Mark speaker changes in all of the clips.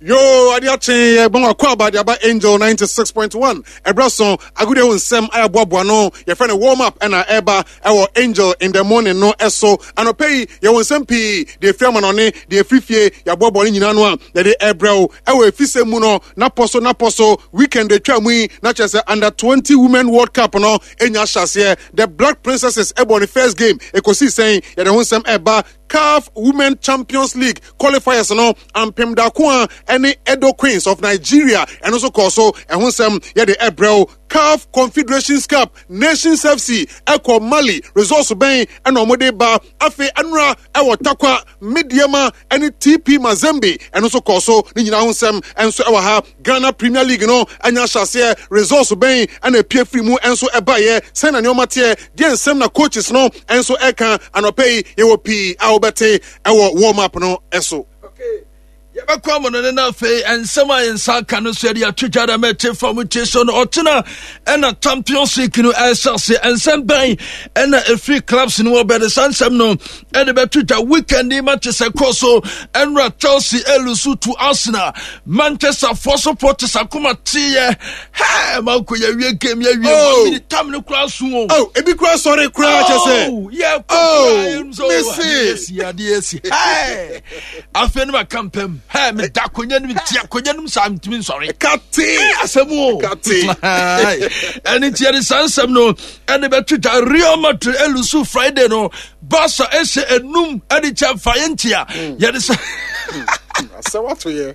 Speaker 1: Yoo, ade akye yɛ bɔn akɔ aba de aba Angel 96.1 ɛbrɛ so agodi ho nsɛm a yɛaboaboa no yɛfrɛ no warm up ɛna ɛba ɛwɔ Angel in the morning no ɛso anɔpɛ yi yɛwɔ nsɛm pii deɛ ɛfiri amanɔne deɛ ɛfiri fie yɛaboaboa no nyinaa no a yɛde ɛbrɛ wo ɛwɔ efisɛ mu no napɔ so napɔ so weekend atwa mu yi na kyerɛ sɛ under 20 women world cup no ɛnya ahyɛaseɛ the black princesses ɛbɔ ne first game ɛkɔsii sɛn yɛde ho nsɛm ɛba CAF Women Champions League qualifiers no ampem daako a ɛne Edo Queens of Nigeria ɛno nso kɔɔ so ɛho nsɛm yɛde ɛbrɛ wo CAF Confederations Cup Nations FC ɛkɔ Mali results bɛn ɛna wɔde ba afei ɛnora ɛwɔ Takwa Medeama ɛne TP Mazembe ɛno nso kɔɔ so ne nyinaa ho nsɛm ɛnso ɛwɔ ha Ghana Premier League no anya ahyɛaseɛ results bɛn ɛna epie firi mu ɛnso ɛbaeɛ sɛn na nneɛma teɛ deɛ nsɛm na coaches no ɛnso ɛka anɔpɛ yi yɛwɔ pii a wobɛte ɛwɔ warm up no ɛso.
Speaker 2: Yɛbɛkɔ amono no na afei nsɛm a yɛn nsa aka no so yɛde ato dwa dɛ mɛte fam tie so no ɔkyena ɛna Champions League no ɛhyɛ ase nsɛm bɛn ɛna ɛfiri clubs no wɔbɛde saa nsɛm no ɛde bɛto dwa weekend yi matches ɛkɔ so ɛnora Chelsea ɛlusu to Arsenal Manchester foɔ supporters akoma teeɛ hɛɛ manko yɛwie game yɛwie oh. one minute tam no koraa so o
Speaker 1: oh ebi koraa sɔre koraa kyɛ sɛ
Speaker 2: oh yɛ kɔ
Speaker 1: oh
Speaker 2: mese adeɛ asi hɛɛ afei no maka mpam hɛ meda akonnwa no meti akonnwa no mu saa metumi nsɔre
Speaker 1: kate
Speaker 2: asɛm o
Speaker 1: kate
Speaker 2: ɛne nti yɛde saa nsɛm no ɛde bɛto dwa Real Madrid ɛlusu Friday no Barca ɛhyɛ enum ɛde kyɛ fa yɛ ntia hmm. yɛde sɛ
Speaker 1: asɛm ato yɛ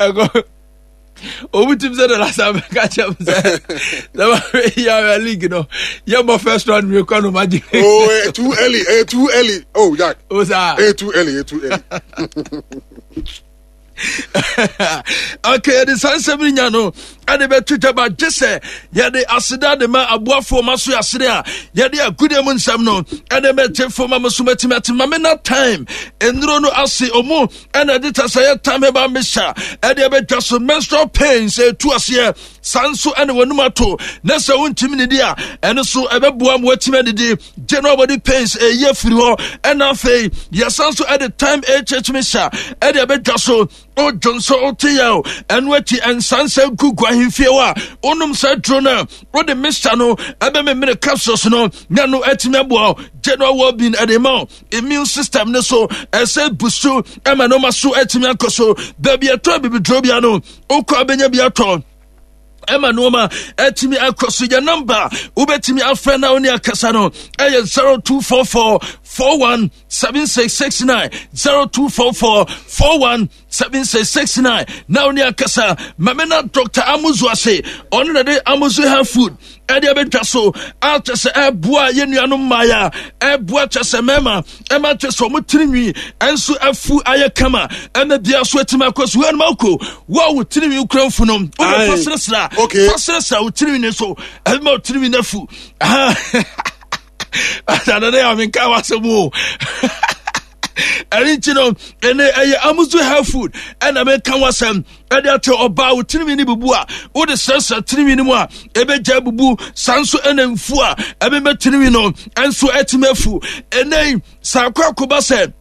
Speaker 2: ɛkɔ obi tim sɛ the last time ka kyerɛ m sɛ sɛ yɛawɛ league no yɛmmɔ first round wie kɔ no magye
Speaker 1: oh eh, too early eh, too early oh jack
Speaker 2: oh saa
Speaker 1: eh, too early eh, too early
Speaker 2: okay yɛde saa nsɛm no nya no ɛde bɛto dwa ba gye sɛ yɛde aseda de ma aboafoɔ ma so yɛasene a yɛde agudeɛ mu nsɛm no ɛde bɛgye ma mo so matumi ate ma me na time nnuro no ase ɔmu ɛna ɛde ta sɛ yɛ time ɛba mesa ɛde ɛbɛdwa so menstrual pain sɛ ɛtu aseɛ saa nso ɛna wɔnum ato na sɛ wontumi nidi a ɛno so ɛbɛboa ma woatumi adidi general body pains ɛyi afiri hɔ ɛna afei yɛsan nso ɛde time hh mesa ɛde ɛbɛdwa so wodwo nso wote yɛ o ɛno akyi ɛnsansa gugu ahemfie hɔ a wonom saa duro no a wode mixture no ɛbɛmemene capsules no na no atumi aboa general well-being ɛde ma immune system no so ɛsɛ busu ɛma nneɛma so atumi akɔ so baabi ɛtɔ abibiduro bia no wokɔ abɛnya bi atɔ ɛma nneɛma atumi akɔ so yɛ nɔmba wobɛtumi afrɛ na wo ne akasa no ɛyɛ 0244 41 7669 0244 41 7669 na wo ne akasa mame na dr amuzu ase ɔno na de amuzu health food ɛde abɛtwa so akyɛ sɛ ɛboa yɛ nuanom mmaeɛ a ɛboa kyɛ sɛ mmarima ɛma kyɛ sɛ ɔmo tirinwi ɛnso afu ayɛ kama ɛma bia so atumi akɔ so ɛnum akɔ wo a wo tirinwi kura mfu no wode fa serɛserɛ fa serɛserɛ wo tirinwi ne so ɛma wo tirinwi no afu adadada yɛ amenka wasɛm o ɛne nti no ɛne ɛyɛ amuzu health food ɛna meka wasɛm ɛde akyɛ ɔbaa wo tirinwi no bubu a wode srɛsrɛ tirinwi no mu a ɛbɛgya bubu saa nso ɛna mfu a ɛbɛma tirinwi no ɛnso atumi afu ɛnɛ saa akɔ akoba sɛ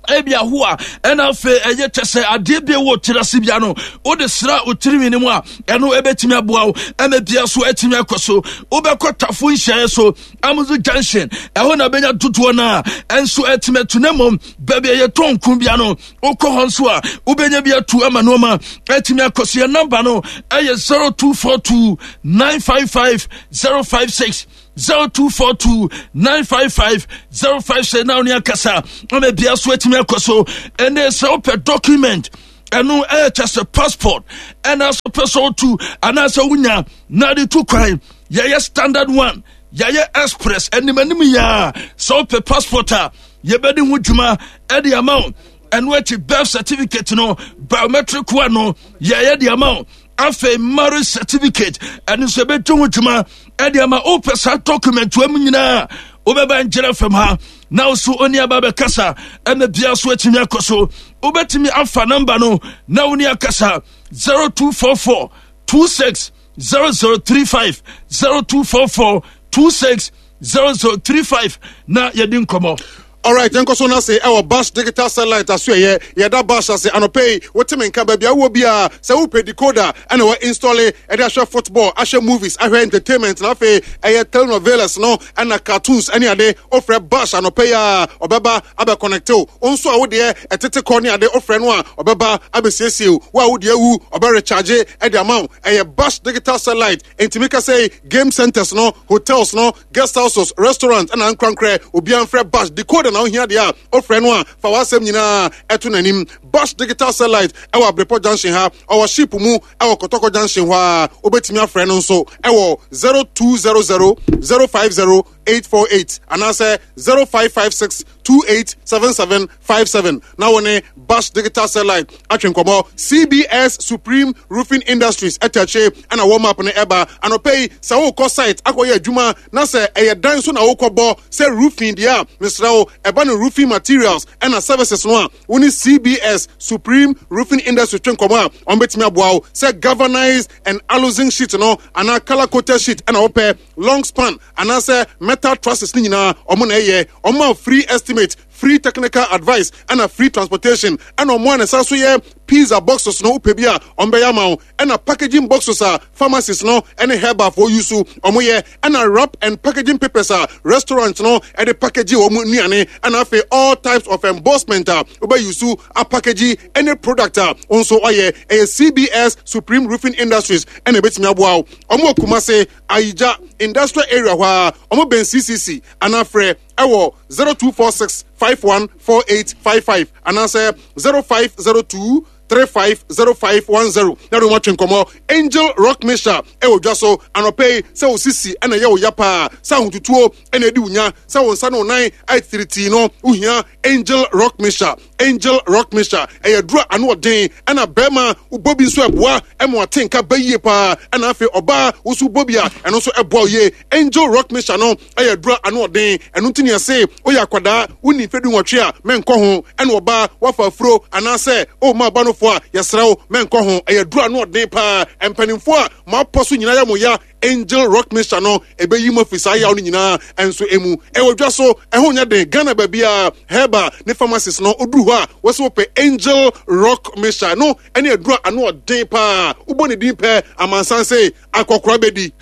Speaker 2: ebi ahoa ɛna afei ɛyɛ kyɛ sɛ adeɛ bi wɔ tiri ase bia no wode sra wo tirinwi no mu a ɛno ɛbɛtumi aboa wo ɛma bia so atumi akɔ so wobɛkɔ tafo nhyɛeɛ so amuzu junction ɛhɔ na bɛnya dodoɔ no a ɛnso atumi atu na mmom baabi a yɛtɔn nko bia no wokɔ hɔ nso a wobɛnya bi atu ama nneɛma atumi akɔ so yɛ namba no ɛyɛ 0242 955 056 0242 955 056 na wo ne akasa ama bia so atumi akɔ so ɛne sɛ wopɛ document ɛno ɛyɛ kyɛ sɛ passport ɛna so pɛ sɛ wotu anaasɛ wonya na de tu kwan yɛyɛ standard one yɛyɛ express anim anim yɛa sɛ wopɛ passport a yɛbɛdi ho dwuma ɛde ama wo ɛno akyi birth certificate no biometric one no yɛyɛ de ama wo afei marriage certificate ɛno nso yɛbɛdi ho dwuma ɛde ama wopɛ saa document wa mu nyinaa wobɛba ngyina fam ha na wo so oni aba bɛkasa ɛna bia so atumi akɔ so wobɛtumi afa namba no na wo ne akasa 0244 26 0035 0244 26 0035 na yɛdi nkɔmmɔ.
Speaker 1: Alright, yɛnkɔ so no ase ɛwɔ Bash Digital Satellite aso ɛyɛ yɛda Bash ase anɔpɛ yi wote me nka baabi a wowɔ biara sɛ wopɛ decoder ɛna wɔ installe ɛde ahwɛ football ahwɛ movies ahwɛ entertainment na afei ɛyɛ telenovelas no ɛna cartoons ɛne ade wofrɛ Bash anɔpɛ yi a ɔbɛba abɛ connecte wo wo nso a wodeɛ ɛtete kɔ ne ade wofrɛ no a ɔbɛba abɛsiesie wo wo a wodeɛ awu ɔbɛ recharge ɛde ama wo ɛyɛ Bash Digital Satellite enti meka sɛ game centers no hotels no guest houses, restaurant ɛna ankorankorɛ obiara mfrɛ Bash decoder na wohia deɛ a wofrɛ no a fa w'asɛm nyinaa ɛto n'anim. Bash Digital Satellite ɛwɔ Abrepɔ Junction ha, ɔwɔ ship mu ɛwɔ Kɔtɔkɔ Junction hɔ a wobɛtumi afrɛ no nso ɛwɔ 0200 050 848 anaasɛ 0556 287757 na wo ne Bash Digital Satellite atwe nkɔmmɔ. CBS Supreme Roofing Industries ɛtɛ akyire ɛna warm up no ɛba anɔpɛ yi. Sɛ wokɔ site akɔyɛ adwuma na sɛ ɛyɛ dan so na wokɔbɔ sɛ roofing deɛ a, mesrɛ wo, ɛba no roofing materials ɛna services no a, wo ne CBS Supreme Roofing Industries twe nkɔmmɔ a, wɔn bɛtumi aboa wo sɛ galvanized and aluzinc sheet no anaa color coated sheet ɛna wopɛ, long span anaasɛ metal trusses ne nyinaa, ɔmo na ɛyɛ. Ɔmo a free estimate, free technical advice ɛna free transportation. Ɛna ɔmo a ne nsa so yɛ pizza boxes no, wopɛ bi a, ɔmo bɛyɛ ama wo. Ɛna packaging boxes a pharmacies no ɛne herbalfoɔ use, ɔmo yɛ. Ɛna wrap and packaging papers a restaurant no ɛde package wɔn nnuane. Ɛna afei all types of embossment a wobɛ use a package any product a nso ɔyɛ. Ɛyɛ CBS Supreme Roofing Industries ɛna ebetumi aboa wo. Ɔmo wɔ Kumase Ayigya Industrial Area hɔ a ɔmo bɛn CCC, anafrɛ ɛwɔ 0246 514855 anaasɛ 0502 350510 na de wɔn atwe nkɔmɔ. Angel Rock Mixture ɛwɔ dwa so anɔpɛ yi. Sɛ wo sisi ɛna ɛyɛ wo ya paa, sɛ ahotutuo ɛna ɛdi wo nya, sɛ wo nsa ne wo nan ayɛ titiritii no, wohia Angel Rock Mixture. Angel Rock Mixture ɛyɛ duro ano ɔden, ɛna bɛrima wobɔ bi nso ɛboa ɛma wate nka bɛyie paa, ɛna afei ɔbaa woso bɔ bi a, ɛno nso ɛboa wo yie. Angel Rock Mixture no ɛyɛ duro ano ɔden, ɛno nti ne ɛse woyɛ akwadaa wonni mfe 18 a, mɛnkɔ ho, ɛna ɔbaa wafa afuro anaasɛ ɔma aba nofoɔ a, yɛsrɛ wo, mɛnkɔ ho. Ɛyɛ duro ano ɔden paa. Mpanimfoɔ a mo apɔ so nyinaa yɛ mo ya, Angel Rock Mixture no ɛbɛyi mu afiri saa yaw no nyinaa ɛnso emu. Ɛwɔ dwa so, ɛho nyɛ den. Ghana baabi a herbal ne pharmacies no oduru hɔ a, wɔsɛ wɔpɛ Angel Rock Mixture no ɛne aduro a ano ɔden paa. Wobɔ ne din pɛ, amansan se akɔkora bɛdi.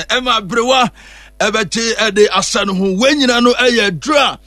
Speaker 2: Ɛma aberewa ɛbɛgye ɛde asa no ho. Wɔn nyinaa no ɛyɛ aduro a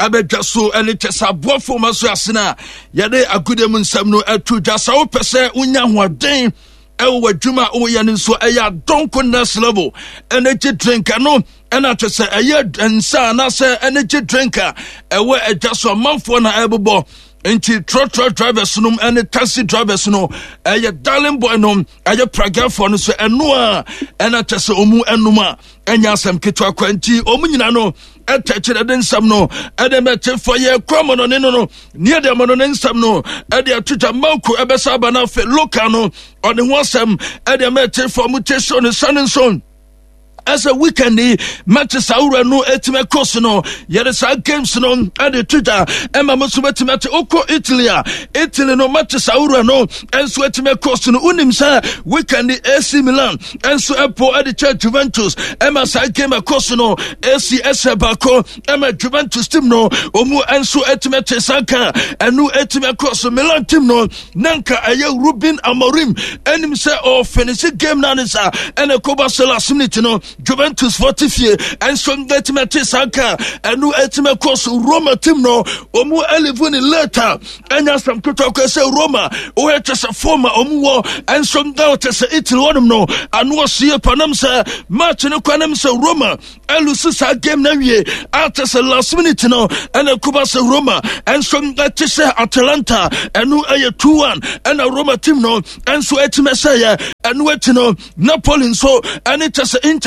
Speaker 2: abɛdwa so ɛne kyɛ sɛ aboafo ma so asene a yɛde agodie mu nsɛm no ɛto dwa. Sɛ wopɛ sɛ wonya ahoɔden ɛwɔ w'adwuma a woyɛ no nso, ɛyɛ Adonko Next Level Energy Drink. Ɛno ɛna kyɛ sɛ ɛyɛ nsa anaasɛ energy drink a ɛwɔ adwa so amanfoɔ na ɛbobɔ. Nti trɔtrɔ drivers nom ɛne taxi drivers no, ɛyɛ darling boy nom, ɛyɛ pragafoɔ no so, ɛno a ɛna kyɛ sɛ ɔmu ɛnom a ɛnyɛ asɛm ketewa kwa. Nti ɔmu nyina no ɛtɛ kyerɛ de nsɛm no ɛde mɛte fɔ yɛ kɔ amɔnɔne no neɛ de amɔnɔne nsɛm no ɛde ato dwa. Mako ɛbɛsa aba no afei local no ɔne ho asɛm ɛde mɛte fɔ mo te so ne sane nso ɛsɛ weekend yi matches ahorow no etimi ɛkɔ so no, yɛde saa games no ɛde to dwa ɛma mo nso bɛtumi ate. Okɔ Italy a, Italy no matches ahorow no ɛnso etimi ɛkɔ so no. Wonim sɛ weekend yi AC Milan ɛnso ɛpo ɛde kyɛ Juventus, ɛma saa game ɛkɔ so no AC ɛsɛ baako ɛma Juventus team no ɔmu ɛnso ɛtumi ɛte saa ka ɛno ɛtumi ɛkɔ so. Milan team no na nka ɛyɛ Ruben Amorim ɛnim sɛ ɔfinisi game no ne sa ɛna ɛkɔba sɛ last minute no Juventus fɔ te fie ɛnso ɛtumi ɛte saa ka ɛno ɛtumi ɛkɔ so. Roma team no ɔmu ɛlivu ne later ɛnya asɛm ketewa kɔ sɛ Roma wɔyɛ kyɛ sɛ fɔm a ɔmu wɔ ɛnso na ɔkyɛ sɛ Italy wɔnom no ano ɔsie panam sɛ match no kɔ anam sɛ Roma ɛlusu saa game na wie ate sɛ last minute no ɛna kuba sɛ Roma ɛnso ɛte sɛ Atalanta, ɛno ɛyɛ 2-1 ɛna Roma team no ɛnso ɛtumi ɛsɛyɛ. Ɛno akyi no Napoli nso ɛne kyɛ sɛ Inter.